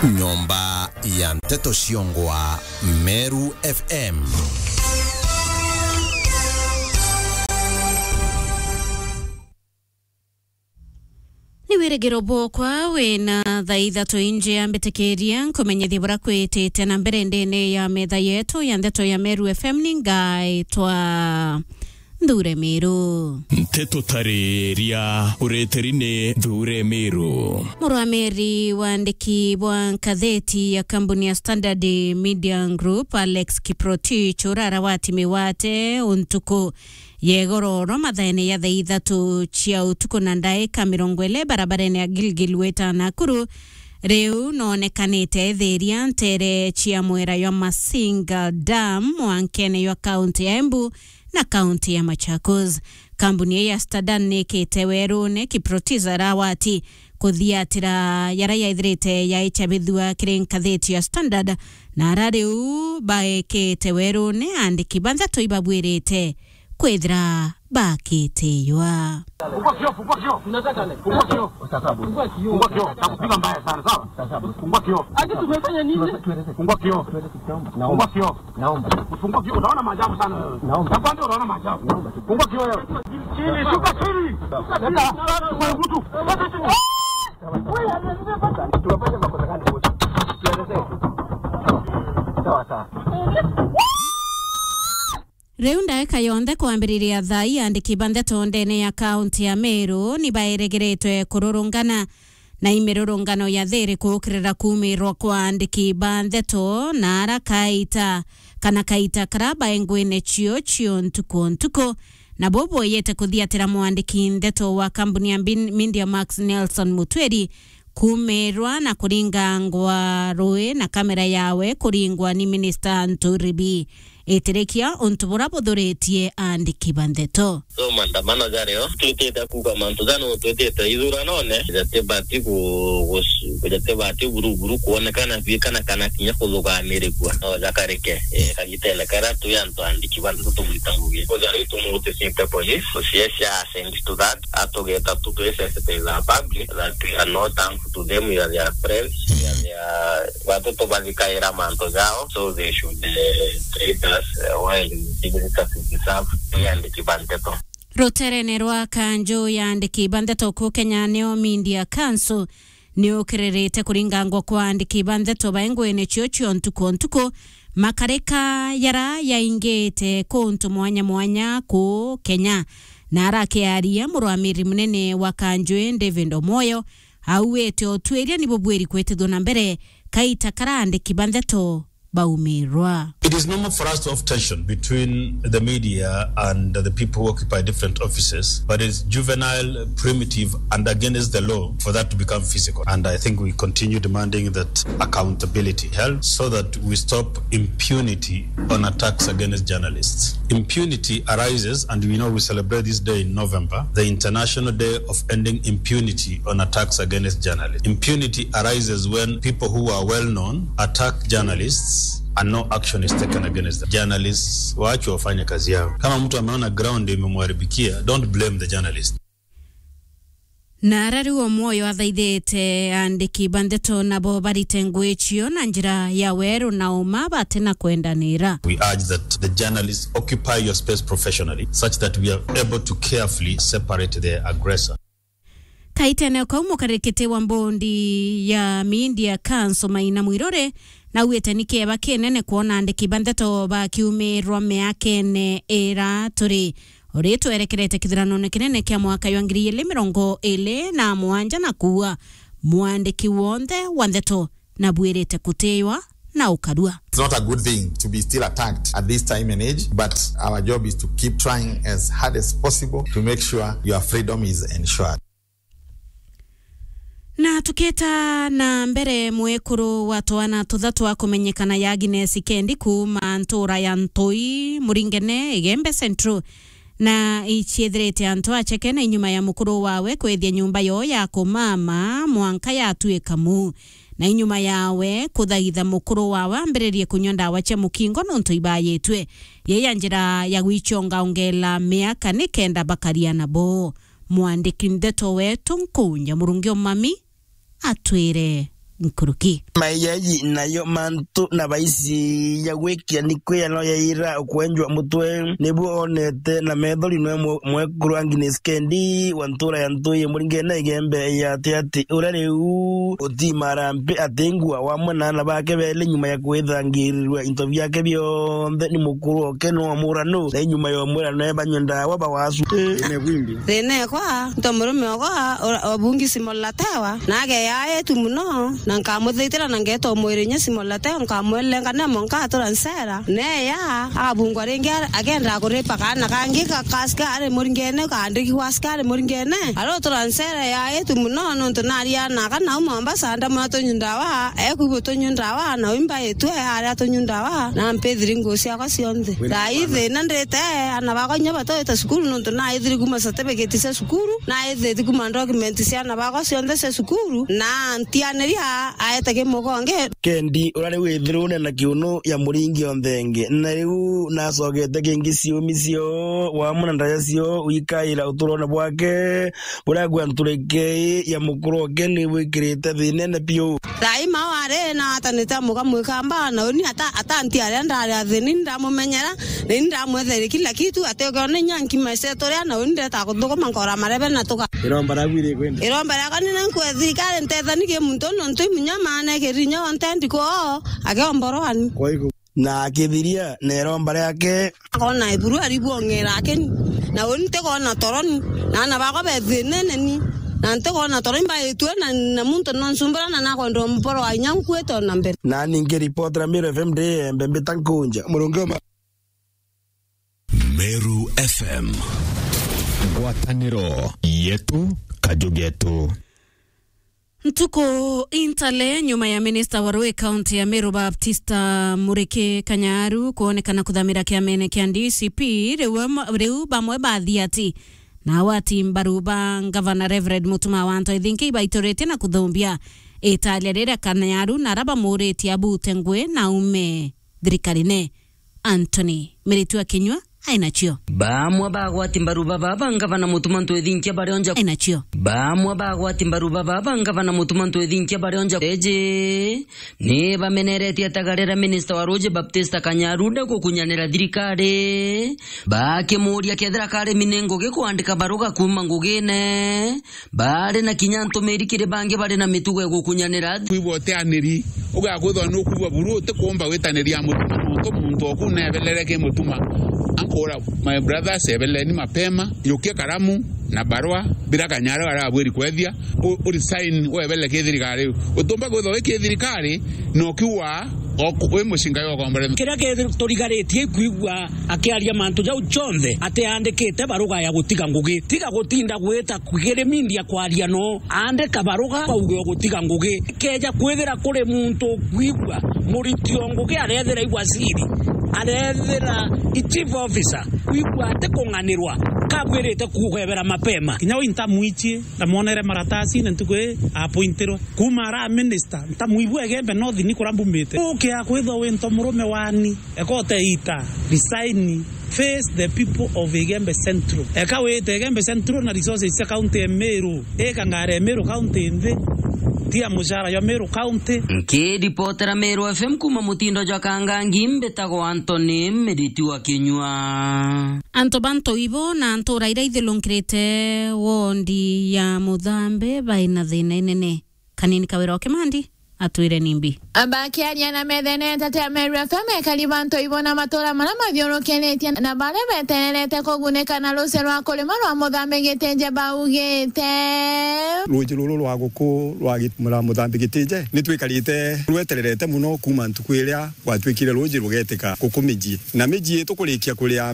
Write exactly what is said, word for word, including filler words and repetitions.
Nyomba ya nteto ciongwa Meru F M. Ni wirigiro bwokwa wina thaa ithatu inji ya mbitikiria nkumenyithie bura kwitite na mbere ndene ya metha yetu ya nteto ya Meru F M. Ni ngaitwa Nthure Miru. Nteto tariria ureteri ni Nthure Miru. Murwamiri wa andiki bwa ngatheti ya kambuni ya Standard Media Group, Alex Kiprotich, urara wa timi wate untuku ya igoro oro mathaene ya thaa ithatu cia utuku na ndaika mirongo iri barabarene ya Gilgil Weta Nakuru, riu noonekanite ethiria ntere cia mwera jwa Masinga Dam, mwankene jwa kaunti ya Embu na kaunti ya Machakos. Kambuni ii ya Standard niikite werune Kiprotich arawati kuthiatira jara yaithirite yaicabithua kiri ngatheti ya Standard, na ara riu baikite werune andiki ba nteto ibabwirite kwithira bakitiwa. Fungua kioo, fungua kioo. Unataka nini? Fungua kioo. Fungua kioo. Fungua kioo. Nitakupiga mbaya sana, sawa? Fungua kioo. Ati tumefanya nini? Fungua kioo. Fungua kioo. Naomba. Fungua kioo. Utaona maajabu sana. Naomba. Nakwambia utaona maajabu. Naomba. Fungua kioo wewe. Chini, shuka chini. Leta. Kwa mtu. Tunafanya makosa gani wote? Tuelezee. Sawa, sawa. Riu ndaika yonthe kwambiriria thaa ii, andiki ba nteto ndene ya kaunti ya Meru ni baeregeretwe kururungana na imirurungano ya thiri kuukirira kuumirwa kwa andiki ba nteto na ara kaita kana kaita kara baengwene cio cio ntuku o ntuku. Nabo boyete kuthiatira mwandiki nteto wa kambuni ya Bin-, Media Max Nelson Mutwiri kuumirwa na kuringangwa rui na kamera yawe kuringwa ni minista Nturi B. Itirikia untu bura buthuritie andiki ba nteto. So maandamano jario, twitite kuuga mantu janu twitite ithuranone, jatibati ku-, gus-, jatibati buruburu kuonekana bi kana, kana kinya kuthugamirikua. No jakarike, eh, kagitene karia twi antu andiki ba nteto tugwita ngugi. Kujari tumutisite police, tuciesha send to that, atugeta tu, twisensitize our public that we are not harmful to them, we are their friends, we are their, batu tubathikaira mantu jao, so they should, eh, treat us, eh, well, giving us as we deserve, twi andiki ba nteto. Ruterene rwa kanju ya andiki ba nteto ku Kenya nio Media Council, ni ukiririte kuringangwa kwa andiki ba nteto baengwene cio cio ntuku o ntuku, makarika jara yaingite kuntu mwanya mwanya ku Kenya. Na arakiaria, murwamiri munene wa kanju ii David Omoyo auite utwiria ni bubwiri kwitithua na mbere kaita kara andiki ba nteto baumirwa. It is normal for us to have tension between the media and the people who occupy different offices, but it's juvenile, primitive, and against the law for that to become physical. And I think we continue demanding that accountability held so that we stop impunity on attacks against journalists. Impunity arises, and we know we celebrate this day in November, the International Day of Ending Impunity on attacks against journalists. Impunity arises when people who are well known attack journalists and no action is taken against them. Journalists waachwe wafanye kazi yao. Kama mtu ameona ground imemharibikia, don't blame the journalist. Na ara riu Omoyo athaithite andiki ba nteto nabo barite ngugi cio na njira ya weru na uma batina kwendanira. We urge that the journalists occupy your space professionally, such that we are able to carefully separate the aggressor. Kaitene kau, mukarikiti wa mbondi ya Media Council Maina Mwiruri nauite ni kieba kinene kwona andiki ba nteto bakiumirwa miakene ira turi uri twerekerete kithiranone kinene kia mwaka jwa ngiri igiri mirongo iri na mugwanja, na kuua mwandiki wonthe wa nteto na bwirite kutiwa na ukarua. It's not a good thing to be still attacked at this time and age, but our job is to keep trying as hard as possible to make sure your freedom is ensured. Na tukita na mbere, mwekuru wa twana tuthatu akumenyekana ya Agnes Kendi kuuma ntura ya Ntui, Muringene, Igembe Central, na iciethirite antu acheke na inyuma ya mukuru wawe kwithia nyumba yoo ya kumama mwanka yatuika mu, na inyuma yawe kuthaitha mukuru wawe ambiririe kunywa ndawa cia mukingo nontu ibayitwe. Yeye ya njira ya gwichonga ongela miaka nikenda bakaria nabo. Mwandiki ndeto wetu Nkunja Murungi Omami atwire nkuruki. Maiyaji nayo mantu na baisi ya gwikia ni kwiyano ya ira ukwenjwa mutwe, nibuo onete na methori nwe mwe-, mwekuru Agnes Kendi wa ntura ya Ntui Muringene Igembe ya Atiati, uria riu utimara mpi atingua wamwe na ana bake beli nyuma ya kwithangirirwa into biake bionthe ni mukuru oke no muranu, na inyuma ya umwira no ebanywe ndawa bawasu. Ine bwimbi. Thina ekwa, nto murume okwa, ora-, obungi simolatewa, na ageya etu muno, na nkamuthaitira na ngeta umwira inya simolatewa, nkamwelenga nemo nkatura nsera, neya, agabungwa ringi, agenda kuripa kaana kangi ka, ka askari Muringene, kaandiki gwa askari Muringene, arotura nsera ya etu muno, nontu naria na kana uma Mombasa, ndamwira tunywe ndawa, ekwigua tunywe ndawa, na wimba etu, aria tunywe ndawa, na mpithiri nguo ciakwa cionthe. Thaa ii thina ndite, ana bakwa inya batwite cukuru, nontu naithiri kuma certificate cia cukuru, naithiti kuma document cia ana bakwa cionthe cia cukuru, na ntianiria aete kimugonge. Kendi, uria riu withirune na kiunu ya muringi onthe ngi, na riu nacogete kingi ciumi cio, wamwe na ndaja cio, wikaira uturone bwake, buria gwa nturike ya mukuru oke ni bwikirite thinene biu. Thaa ii ma wari na atanite amuka mwikamba, na uni ata-, atanti aria ndari athini, ndamumenyera, na ini ndamwethere kila kitu, ati ukiona inya nkima iceto ria, na uni ndeta kuthukuma nkora marebe na tuka. Iromba riaku iri kwenda? Iromba riakwa ni na nkwe thirikari ntethani ki muntu nontu imunya maana kirinya onte ndiko, agiomborwani. Kwa hiyo Na akithiria na iromba riake. Akona iburu aribwong'era akeni. Na uni ntikona toroni. Na ana bakwa bethinene ni. Na ntikona toroni mbaitue na, na muntu nonsumbura na nakwenda mporo wa inya nkuite ona mbere. Na ningi ripoti ra Meru F M ndi embe mbita nkunja. Murungi wa ma- Meru F M. Ngwataniro yetu, kaju getu. Ntuku intale nyuma ya minista wa rui kaunti ya Meru Baptista Muriki Kanyaru kwonekana kuthamira kiamene kia D C P, riu am-, riu bamwe ba athiati na agwati mbaru ba ngavana Reverend Mutuma wa Anto Ithinki ibaituritie na kuthumbia italia riria Kanyaru na ara bamuritie abute ngui na aume thirikarine. Anthony Miritu Akinyua ainacio. Bamwe bagwati mbaru baba ba ngavana Mutuma Ntwithinkia barionja. Ainacio. Bamwe bagwati mbaru baba ba ngavana Mutuma Ntwithinkia barionja eji ni bameneretie atagarira minista wa ruji Baptista Kanyaru nda gukunyanira thirikari, bakimuria kethira kari minengo gikuandika baruga kuuma ngugine. Bari na kinya ntumiri kiri bangi bari na mitugo ya gukunyanira. Kwigua utianiri, ugakwithwa nukwigua buru, utikumba gwitaniria Mutuma, nontu muntu oku nebelere ki Mutuma. Ankura, my brothers, ebeleni mapema, yukia karamu na barua, bira Kanyaru arabwiri kwethia, u-, u resign, webele ki thirikari. Utumba kwithwa wi ki thirikari, na ukiuga, oku-, wi mucinga yo ukombore. Kiria giturigarite ikwigua akiaria mantu jau jonthe, atiandikite baruga ya gutiga ngugi. Tiga gutinda gwita kugirimindia kwaria no, andika baruga bauge ugutiga ngugi. Keja kwithira kuri muntu ukwigua muriti o ngugi arethira i waziri, arethira i chief officer, kwigua ati kung'anirwa, kabwirite kugebera mapema. Kinya uu ntamwichie, ndamwonere maratasine ntuku ii appointirwe. Kuuma ara minister, ntamwigua Igembe North ni kuria mbumite. Ukia kwithwa wi nto murume wani. Eka uteita, resign, face the people of Igembe Central. Eka wite Igembe Central na resources cia county ya Meru. Ika ngari ya Meru county nthi. Tia mucara jwa Meru county. Nkiripotera Meru F M kuuma mutindo jwa Kangangi, mbitagwa Anthony Miritu wa Kinyua. Antu ba ntu ibo na ntura iria ithilungirite wondi ya Muthambi baina thina inene. Kanini Kawira o Kimandi atwire nimbi. Bakiaria na methenete tia Meru F M, ekari ba ntu ibo na matura maria mathiurukiritie na baria betererete kugunika na rucio rwa kurima rwa Muthambi Gitije baugite. Ruuji ruru rwa guku rwa Git-, mura Muthambi Gitije, ni twikarite rwetererete muno kuuma ntuku iria gwatwikire ruuji rugetika guku mijii. Na mijii tukurikia kuria